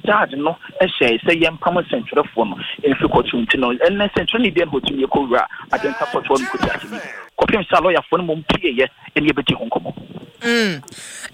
Judge no hyɛe sɛ yɛmpam nsɛntwerɛfoɔ no mfiri kɔɔto nti no, ɛnnɛ nsɛntwerɛni biara nni hɔ a ɔtumi kɔwura Adenta kɔɔto hɔ nom kɔdi asɛm yi kɔpem sɛ alɔyafoɔ no mmom pieeɛ ne yɛbɛdi ho nkɔmmɔ. Mm.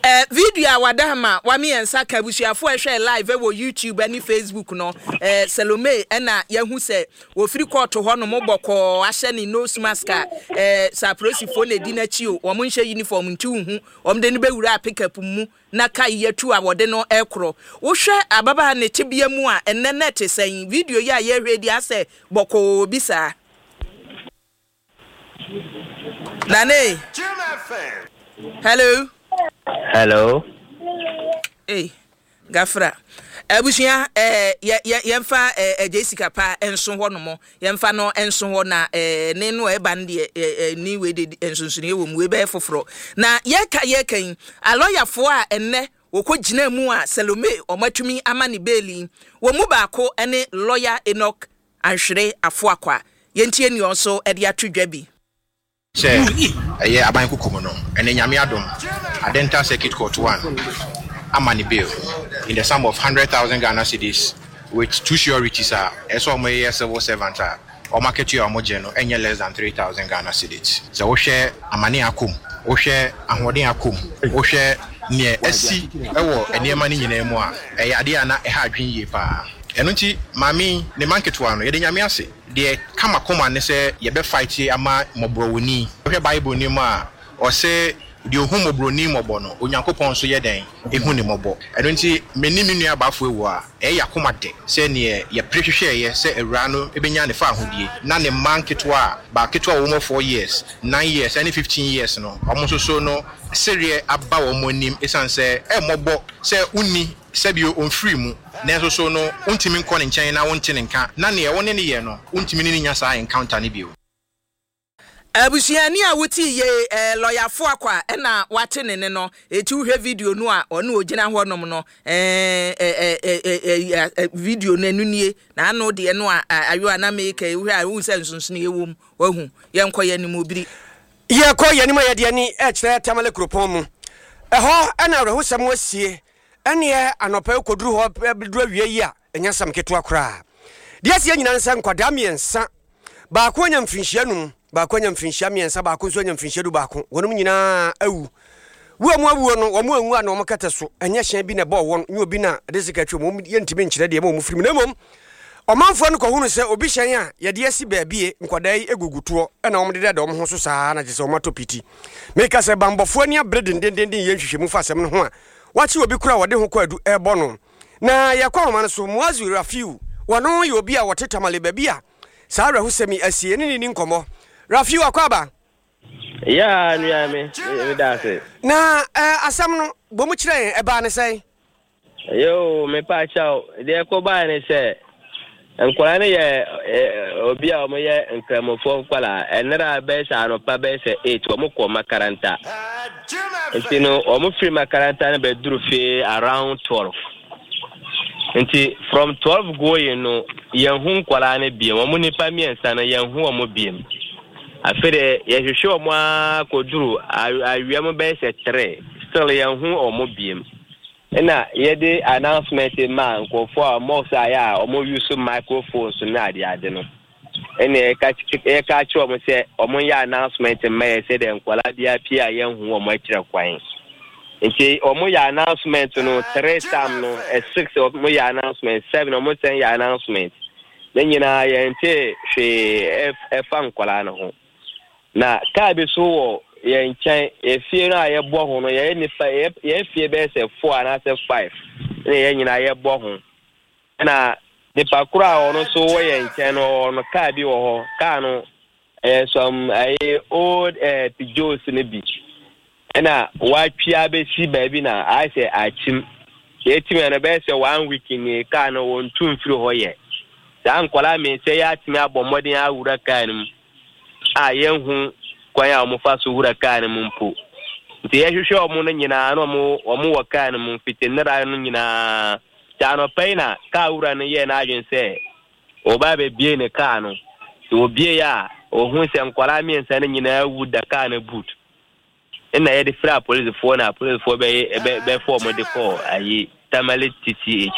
Eh, video a wada ma wame yɛn nsa ka abusuafo a ɛhwɛ live wɔ YouTube ne Facebook no. Eh, Salome ɛna yɛahu sɛ wɔfiri kɔɔto hɔ nom bɔkɔɔ ahyɛ ne nose mask a eh, sɛ apolisifoɔ na ɛdi n'akyi o, wɔn nhyɛ uniform nti wohu wɔn de no bɛwura pickup mu na ka yi atu a wɔde no rekorɔ. Wohwɛ ababaa ne tebea mu a, ɛnnɛ na ɛte sɛn? Video yi a yɛrehwɛ yi deɛ asɛ bɔkɔɔ bi saa. Nane. Hello. Hello. Hey. Gafra. Abusua, eh, yɛ, yɛ, yɛmfa eh, eh, Jessica pa nso hɔ nom. Yɛmfa no nso hɔ na eh, ne no ɛba no deɛ eh, eh, ne wei de nsonsonoeɛ wɔ mu, wei bɛyɛ foforɔ. Na yɛka yɛka yi, alɔyafoɔ a ɛnnɛ wɔkɔ gyina mu a Salome wɔatumi ama ne beeli, wɔn mu baako ne lɔya Enoch Anhwere Afoakwa. Yɛntie nea ɔnso de ato dwa bi. Sɛ ɛyɛ aban kuku mu no, ɛnɛ Nyame adom, Adenta Circuit Court One ama no bail in the sum of 100,000 Ghana cedis with two sureties a ɛsɛ sɛ wɔyɛ civil servant a wɔn akatua a wɔgye no nyɛ less than 3,000 Ghana cedis. Sɛ wohwɛ amane a akɔ mu, wohwɛ ahoɔden a akɔ mu, wohwɛ neɛ asi wɔ nneɛma no nyinaa mu a, ɛyɛ adeɛ a na ɛha adwene yie paa. Ɛno nti maame yi, ne mma nketewa no, yɛda Nyame ase. Deɛ ɛka m'akoma ne sɛ yɛbɛ fight ama mmɔborɔwɔni. Wohwɛ bible no mu a, ɔse deɛ ɔhu mmɔborɔni mmɔbɔ no, Onyankopɔn nso yɛ dɛn? Hu no mmɔbɔ. Ɛno nti me ne me nua Bafo awu a, ɛyɛ y'akoma dɛ sɛ neɛ yɛpere hwehwɛɛyɛ sɛ awuraa no bɛnya ne faahodie na ne mma nketewa a, baa ketewa a wɔwɔ four years, nine years ɛne 15 years no, wɔn nso so no sereɛ aba wɔn anim ɛsiane sɛ ɛmmɔbɔ sɛ wonni Sɛbio ɔmfirii mu, nanso so no wontumi nkɔ ne nkyɛn na wonte ne nka, na neɛ wo ne no yɛ no wontumi ne no nya saa encounter no bio. Abusuani a wotii yei eh, lɔya Foakwa na wate ne ne no, eti wohwɛ video no a ɔne ogyina hɔ nom no eh, eh, eh, eh, eh, eh, video no ɛno nie, na ano deɛ no a ayo a na meka yi wohwɛ a wohu sɛ nsonsonoeɛ wɔ mu, wahu, yɛnkɔ yɛn anim obiri. Yɛkɔ yɛn anim a yɛde ani rekyerɛ Tamale kuropɔn mu. Ɛhɔ na awerɛhosɛm asie. Ɛnneɛ anɔpa yi kɔduru hɔ bɛduru awia yi a, ɛnyɛ asɛm ketewa koraa. Deɛ asie nyinaa ne sɛ nkwadaa mmiɛnsa, baako anya mfirinhyia num, baako anya mfirinhyia mmiɛnsa, baako nso anya mfirinhyia du baako. Wɔnom nyinaa awu. Wu a wɔn awuo no, wɔn anwu a na wɔn kɛtɛ so. Ɛnyɛ hyɛn bi na ɛbɔɔ wɔn, nyɛ obi na ɛde sika atwa wɔn. Yɛntumi nkyerɛ deɛ ɛma wɔn firi mu. Na mmom, ɔmanfoɔ no kɔhunu sɛ obi hyɛn a yɛde asi baabie, nkwadaa yi gugu toɔ na wɔn dedada wɔn ho so saa na kyerɛ sɛ wɔn atɔ piti. Meka sɛ banbɔfoɔ ani abere dendendenden yɛ nhwehwɛmu fa asɛm no ho a, wɔakye obi koro a wɔde ho kwaadu rebɔ no. Na yɛkɔ ahoma no so, Muazu Rafiu, wɔno yɛ obi a wɔte Tamale baabi a saa awerɛhosɛm yi asie, yɛne no nni nkɔmmɔ. Rafiu, akwaaba. Yeah, nua me, me da ase. Na eh, asɛm no, bɔ mu kyerɛ yɛn, ɛbaa ne sɛn? Yoo, mepa kyɛw, deɛ ɛkɔbaeɛ ne sɛ, nkwadaa no yɛ obi a wɔyɛ nkramofoɔ nkwadaa. Ɛnera bɛyɛ sɛ anɔpa bɛyɛ sɛ 8 wɔn kɔ makaranta. Nti no wɔn firi makaranta no bɛduru fie around 12. Nti from 12 going no yɛn ho nkwadaa no biem. Wɔn nipa mmiɛnsa no yɛn ho wɔn biem. Afei de yɛhwehwɛ wɔn ara kɔduru awia mu bɛyɛ sɛ 3 still yɛn ho wɔn biem. Nna yɛde announcement ma nkorɔfoɔ a mosque a yɛ a wɔn use microphones ne ade ade no. Ɛna yɛka yɛka akyerɛ wɔn sɛ wɔn nyɛ announcement mma yɛ sɛdeɛ nkwadaa biara pie a yɛnhu wɔn akyerɛ kwan. Nti wɔn yɛ announcement no three tam no eh, six wɔn yɛ announcement seven wɔn sɛn yɛ announcement. Ne nyinaa yɛnte hwee ɛfa nkwadaa no ho. Na kaa bi so wɔ yɛn nkyɛn, efie no a yɛbɔ ho no, yɛyɛ nipa, yɛn fie bɛyɛ sɛ four anaasɛ five, ɛna yɛn nyinaa yɛbɔ ho. Ɛna nipa koro a ɔno nso wɔ yɛn nkyɛn no, ɔwɔ no kaa bi wɔ hɔ. Kaa no, ɛyɛ some ɛyɛ old ɛɛ eh, Peugeots no bi. Ɛna watwi abɛsi baabi na ayɛ sɛ akyim. Yɛtim ɛno bɛyɛ sɛ one week nie, kaa no wɔntu mfiri hɔ yɛ. Saa nkwadaa mmiɛnsa yi atumi abɔ mmɔden awura kaa no mu. a yɛnhu kwan a wɔfa so wura kaa no mu mpo. Nti yɛhwehwɛ wɔn no nyinaa na wɔn wɔn wɔ kaa no mu fiti nnera no nyinaa. Nti anɔpa yi na kaa wura no yɛɛ n'adwene sɛ ɔba abɛbie ne kaa no. Nti ɔbieeɛ a, ɔhu sɛ nkwadaa mmiɛnsa no nyinaa awu da kaa no boot. Ɛna yɛde frɛ apolisifoɔ na apolisifoɔ bɛyɛ bɛ bɛfa wɔn de kɔɔ ayi Tamale TTH.